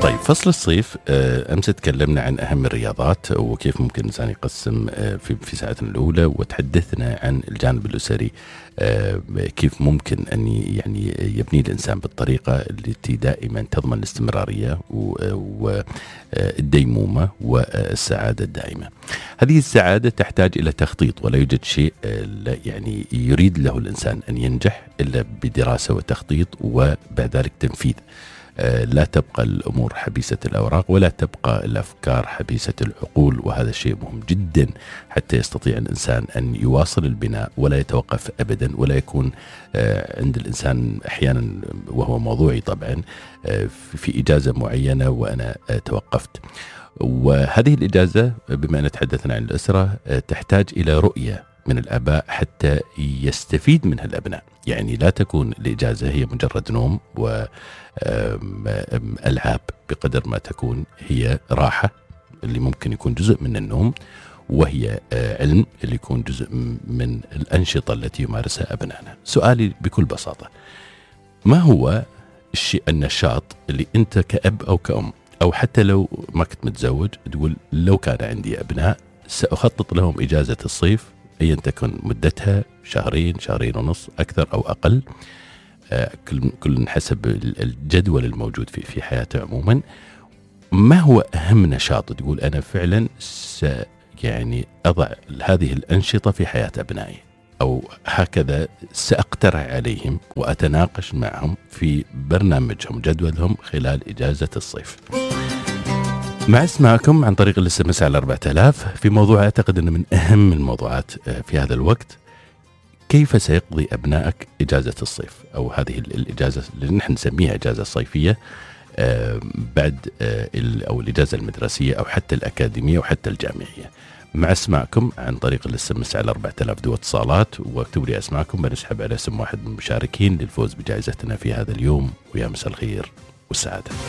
طيب فصل الصيف أمس تكلمنا عن أهم الرياضات وكيف ممكن الإنسان يقسم في ساعتنا الأولى، وتحدثنا عن الجانب الأسري، كيف ممكن أن يعني يبني الإنسان بالطريقة التي دائما تضمن الاستمرارية والديمومة والسعادة الدائمة. هذه السعادة تحتاج إلى تخطيط، ولا يوجد شيء يعني يريد له الإنسان أن ينجح إلا بدراسة وتخطيط وبعد ذلك تنفيذ. لا تبقى الأمور حبيسة الأوراق، ولا تبقى الأفكار حبيسة العقول، وهذا الشيء مهم جدا حتى يستطيع الإنسان أن يواصل البناء ولا يتوقف أبدا، ولا يكون عند الإنسان أحيانا، وهو موضوعي طبعا، في إجازة معينة وأنا توقفت. وهذه الإجازة بما أن تحدثنا عن الأسرة تحتاج إلى رؤية من الآباء حتى يستفيد منها الأبناء. يعني لا تكون الإجازة هي مجرد نوم وألعاب، بقدر ما تكون هي راحة اللي ممكن يكون جزء من النوم، وهي علم اللي يكون جزء من الأنشطة التي يمارسها أبنائنا. سؤالي بكل بساطة، ما هو الشيء النشاط اللي أنت كأب أو كأم أو حتى لو ما كنت متزوج تقول لو كان عندي أبناء سأخطط لهم إجازة الصيف أيا تكن مدتها، شهرين، شهرين ونص، أكثر أو أقل، كل حسب الجدول الموجود في حياته عموما. ما هو أهم نشاط تقول أنا فعلا يعني أضع هذه الأنشطة في حياة أبنائي، أو هكذا سأقترح عليهم وأتناقش معهم في برنامجهم جدولهم خلال إجازة الصيف. مع اسمعكم عن طريق الاس على 4000 في موضوع أعتقد أنه من أهم الموضوعات في هذا الوقت: كيف سيقضي أبنائك إجازة الصيف، أو هذه الإجازة اللي نحن نسميها إجازة صيفية بعد أو الإجازة المدرسية أو حتى الأكاديمية وحتى الجامعية. مع اسمعكم عن طريق الاس على 4000 دو اتصالات، واكتبوا لي اسمعكم بنسحب على اسم واحد من المشاركين للفوز بجائزتنا في هذا اليوم. ويا مساء الخير والسعادة.